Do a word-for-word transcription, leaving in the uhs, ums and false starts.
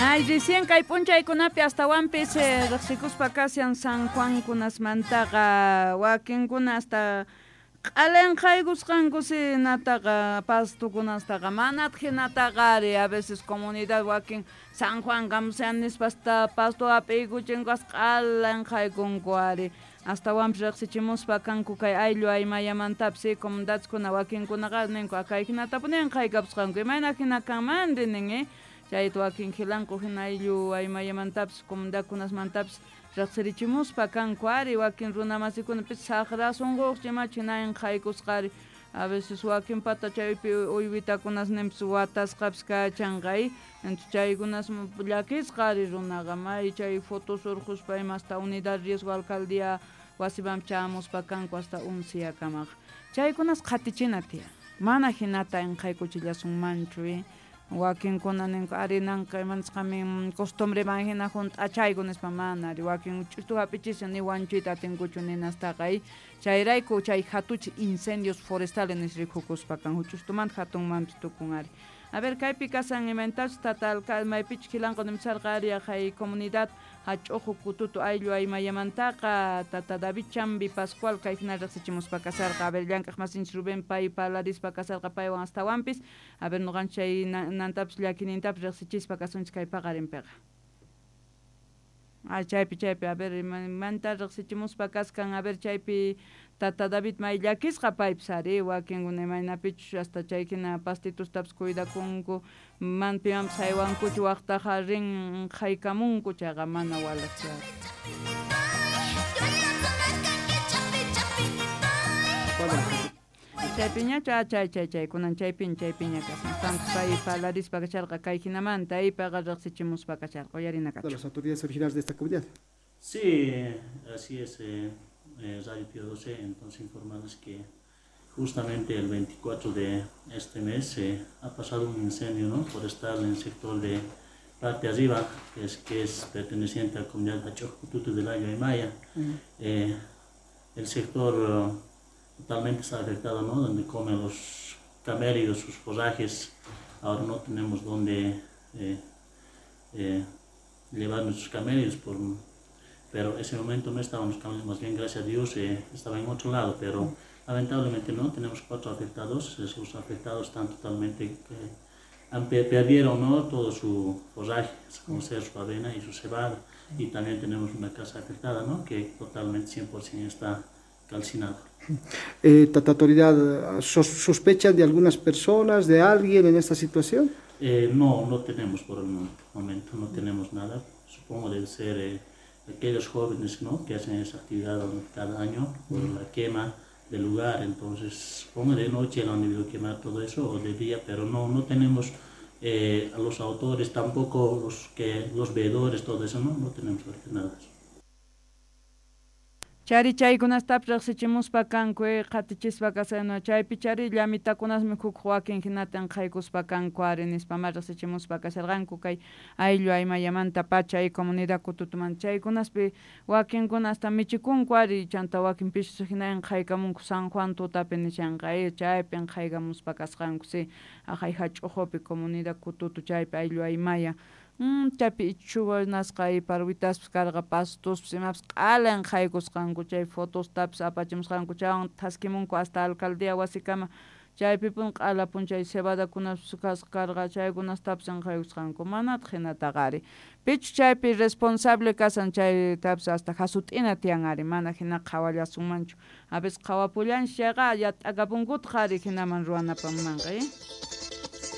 Ay, recién kay p'unchaykunapi astawanpis eh, riqsikuspa kashan San Juankunasmantaqa wakinkuna hasta q'alanqaykusqanku sinataqa pastukunastaqa manataq hinataqa ari a veces comunidad wakin San Juan kamusan nispa hasta pasto hap'iykuchinku hasta q'alanqaykunku ari astawanpis riqsichimuspa kanku kay ayllu aymayamantapis comunidadkuna wakinkunaqa ninku kay hinatapuni qaykapusqanku imayna hina kanmanri nin eh chayta wakin khilanku hina ayllu aymayamantapis comunidadkunasmantapis riqsirichimuspa kanku ari wakin runamasikunapis saqra sunquq imachu hina qaykusqari a veces wakin pata chaypi uywitakunasninpis watasqapis kachanqa entonces chaykunas llakisqa ari runaqa may chay fotos urquspa ima hasta unidad riesgo alcaldía wasiman chamuspa kanku hasta unsiyakamaqa chaykunas qhatichina tiyan mana hinata inqaykuchillasunmanchu eh wakinkuna ninku ari nanqa imanisqami costumbreman hina hunt'achayku nispa mana ari wakin ch'ustu hap'ichishan ni wanchuyta atinkuchu ninastaqa chayrayku chay hatuchi incendios forestales nis rikukuspa kan huch'ustumanta hatunmanpis tukun ari a ver kaypi kasan imaynatachus tata alcalde maypichus khilanqa nimsarqa ari hay comunidad hach'uju kututu ayllu aymayamantaqa tata David Chambi Pascual kay hina riqsichimuspa kasarqa a ver llank'aq masinchis Rubén pay parlarispa kasarqa paywan astawanpis a ver nuqanchis chay nantapis llakinintapis riqsichispa kasunchis kay paqarinpiqa ah chaypi chaypi a ver imanta riqsichimuspa kaskan a ver chaypi tata David may llakisqa paypis ari wakinkuna imaynapichus hasta chay hina pastitustapis cuidakunku man pimanpis haywankuchu waqtaqa rin haykamunku chayqa mana walaqchu chaypiñachu chay chay chay kunan chaypin chaypiña kasan tanto pay parlarispa kasharqa kay hinamanta aypaqa riqsichimuspa kasharqa uyarina kachu. De las autoridades originales de esta comunidad. Sí, así es, eh, eh, Radio Pío doce, entonces informarles que justamente el veinticuatro de este mes eh, ha pasado un incendio, ¿no?, forestal en el sector de parte arriba, que es, que es perteneciente a la comunidad de Achojcututu del Ayo Aymaya. Uh-huh. Eh, el sector uh, totalmente está afectado, ¿no?, donde comen los camélidos sus forrajes. Ahora no tenemos dónde eh, eh, llevar nuestros camélidos, por, pero ese momento no estaban los camélidos, más bien gracias a Dios eh, estaba en otro lado, pero lamentablemente no, tenemos cuatro afectados, esos afectados están totalmente, eh, han, perdieron, ¿no?, todo su forraje, como ser su avena y su cebada, y también tenemos una casa afectada, ¿no?, que totalmente cien por ciento está calcinada. Eh, Tata Autoridad, ¿sospechan de algunas personas, de alguien en esta situación? Eh, no, no tenemos por el momento, no tenemos nada. Supongo debe ser eh, aquellos jóvenes, ¿no?, que hacen esa actividad cada año por la quema del lugar. Entonces, supongo de noche lo han debido quemar todo eso, o de día, pero no, no tenemos eh, a los autores, tampoco los, que, los veedores, todo eso, no, no tenemos nada de eso. Chari chaykunastapis riqsichimuspa kanku qatichispa kasayno chaypi chari llamitakunasmi huk wakin hinatan qaykuspa kanku ari nispa ma riqsichimuspa kasharqanku kay ayllu aymayamanta pacha y comunidad kututumanta chaykunaspi wakinkuna hasta michikunku ari chanta wakin pishus hinan qaykamunku San Juan tutapi nishanqa chaypin qaykamuspa kasqanku si aqhay hach'uqupi comunidad kututu chaypi ayllu aymaya. Mm, chaypi ichuwanasqa y parwitaspas karqa pastospis imapis q'alan qaykusqanku chay fotostapis apachimusqanku chaywan thaskimunku hasta alcaldía wasikama chaypipun q'alapun chay cebadakunapas kasqa karqa chaykunastapis qaykusqanku manataq hinataqa ari pichu chaypi responsable kasan chaytapis hasta hasut'ina tiyan ari mana hina qhawallasunmanchu a veces qhawapullanchis chayqa yat'akapunkutaq ari hinaman ruwanapamanqa eh.